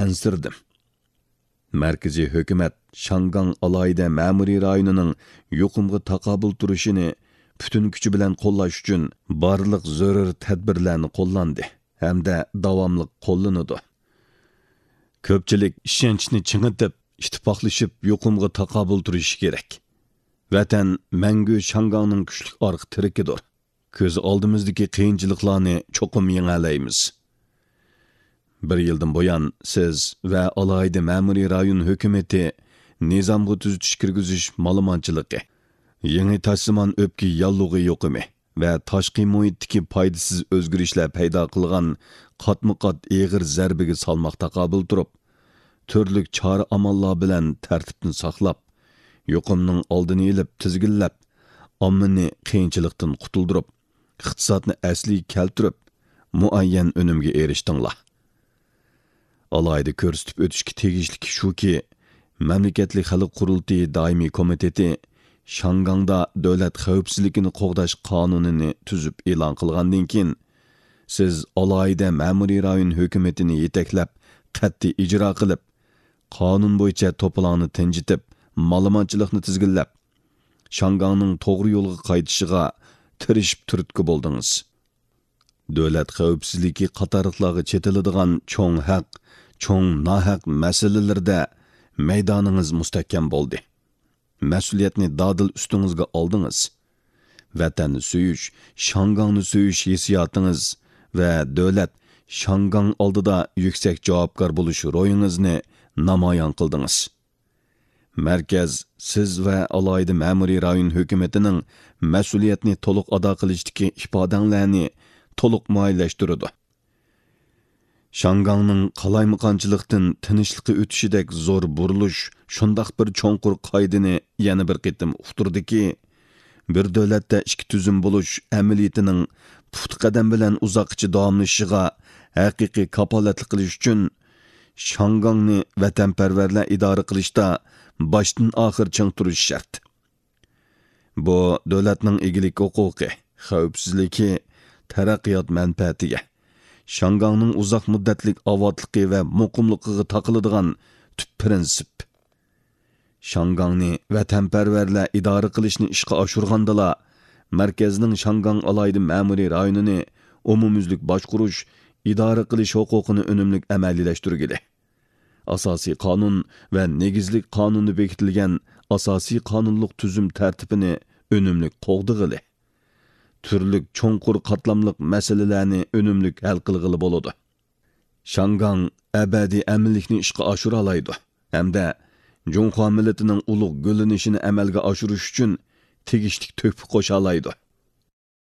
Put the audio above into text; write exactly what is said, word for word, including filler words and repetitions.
ئەنسىرىدىم. مەركىزىي ھۆكۈمەت شاڭگاڭ ئالاھىدە مەمۇرىي رايونىنىڭ يۇقۇمغا تاقابىل تۇرۇشىنى پۈتۈن كۈچى بىلەن قوللاش ئۈچۈن بارلىق زۆرۈر تەدبىرلەرنى قوللاندى ھەمدە داۋاملىق قوللىنىدۇ. كۆپچىلىك ئىشەنچنى چىڭىتىپ، ئىتتىپاقلىشىپ يۇقۇمغا تاقابىل تۇرۇشى كېرەك. ۋەتەن مەڭگۈ شاڭگاڭنىڭ كۈچلۈك ئارقا تىرىكىدۇر. كۆز ئالدىمىزدىكى قىيىنچىلىقلارنى چوقۇم يېڭەلەيمىز. بىر يىلدىن بۇيان سىز ۋە ئالاھىدە مەمۇرىي رايون ھۆكۈمىتى نىزامغا تۈزىتىش كىرگۈزۈش مالىمانچىلىقى، يېڭى تاشسىمان ئۆپكە ياللۇغى يۇقۇمى ۋە تاشقى مۇھىتتىكى پايدىسىز ئۆزگىرىشلەر پەيدا قىلغان قاتمۇ قات ئېغىر زەربىگە سالماق تاقابىل تۇرۇپ، تۈرلۈك چارە ئاماللار بىلەن تەرتىپنى ساقلاپ، يۇقۇمنىڭ ئالدىنى ئېلىپ تىزگىنلەپ، ئاممىنى قىيىنچىلىقتىن قۇتۇلدۇرۇپ، ئىقتىسادنى ئەسلىگە كەلتۈرۈپ، مۇئەييەن ئۈنۈمگە ئېرىشتىڭلار. ئالاھىدە كۆرسىتىپ ئۆتۈشكە تېگىشلىكى شۇكى، مەملىكەتلىك خەلق قۇرۇلتىيى دائىمىي كومىتېتى شاڭگاڭدا دۆلەت خەۋپسىزلىكىنى قوغداش قانۇنىنى تۈزۈپ ئېلان قىلغاندىن كېيىن، سىز ئالاھىدە مەمۇرىي رايون ھۆكۈمىتىنى يېتەكلەپ، قەتئىي ئىجرا قىلىپ، قانۇن بويىچە توپىلاڭنى تىنجىتىپ، مالىمانچىلىقنى تىزگىنلەپ، شاڭگاڭنىڭ توغرا يولغا قايتىشىغا تىرىشىپ تۈرتكە بولدىڭىز. دۆلەت خەۋپسىزلىكى قاتارلىقلارغا چېتىلىدىغان چوڭ ھەق، چوڭ ناھەق مەسىلىلىرىدە مەيدانىڭىز مۇستەھكەم بولدى. مەسئۇلىيەتنى دادىل ئۈستىڭىزگە ئالدىڭىز. ۋەتەننى سۆيۈش، شاڭگاڭنى سۆيۈش ھېسسىياتىڭىز ۋە دۆلەت، شاڭگاڭ ئالدىدا يۈكسەك جاۋابكار بولۇش روھىڭىزنى نامايان قىلدىڭىز. مەركەز سىز ۋە ئالاھىدە مەمۇرىي رايون ھۆكۈمىتىنىڭ مەسئۇلىيەتنى تولۇق ئادا قىلىشتىكى ئىپادەڭلارنى تولۇق مۇئەييەنلەشتۈرىدۇ. شاڭگاڭنىڭ قالايمىقانچىلىقتىن تىنچلىققا ئۆتۈشىدەك زور بۇرۇلۇش شۇنداق بىر چوڭقۇر قائىدىنى يەنە بىر قېتىم ئۇقتۇردىكى، بىر دۆلەتتە ئىككى تۈزۈم بولۇش ئەمەلىيىتىنىڭ پۇختا قەدەم بىلەن ئۇزاققىچە داۋاملىشىشىغا ھەقىقىي كاپالەتلىك قىلىش ئۈچۈن، شاڭگاڭنى ۋەتەنپەرۋەرلەر ئىدارە قىلىشتا باشتىن ئاخىر چىڭ تۇرۇشى شەرت. بۇ دۆلەتنىڭ ئىگىلىك ھوقۇقى، خەۋپسىزلىكى، تەرەققىيات مەنپەئەتىگە، شاڭگاڭنىڭ ئۇزاق مۇددەتلىك ئاۋاتلىقى ۋە مۇقىملىقىغا تاقىلىدىغان تۈپ پىرىنسىپ. شاڭگاڭنى ۋەتەنپەرۋەرلەر ئىدارە قىلىشنى ئىشقا ئاشۇرغاندىلا، مەركەزنىڭ شاڭگاڭ ئالاھىدە مەمۇرىي رايونىنى ئومۇميۈزلۈك باشقۇرۇش، ئىدارە قىلىش ھوقۇقىنى ئۈنۈملۈك ئەمەلىيلەشتۈرگىلى. ئاساسىي قانۇن ۋە نېگىزلىك قانۇندا بېكىتىلگەن ئاساسىي قانۇنلۇق تۈزۈم تەرتىپىنى ئۈنۈملۈك قوغدىغىلى. تۈرلۈك چوڭقۇر قاتلاملىق مەسىلىلەرنى ئۈنۈملۈك ھەل قىلغىلى بولىدۇ. شاڭگاڭ ئەبەدىي ئەمىنلىكنى ئىشقا ئاشۇرالايدۇ ھەمدە جۇڭخۇا مىللىتىنىڭ ئۇلۇغ گۈللىنىشىنى ئەمەلگە ئاشۇرۇش ئۈچۈن تېگىشلىك تۆھپە قوشالايدۇ.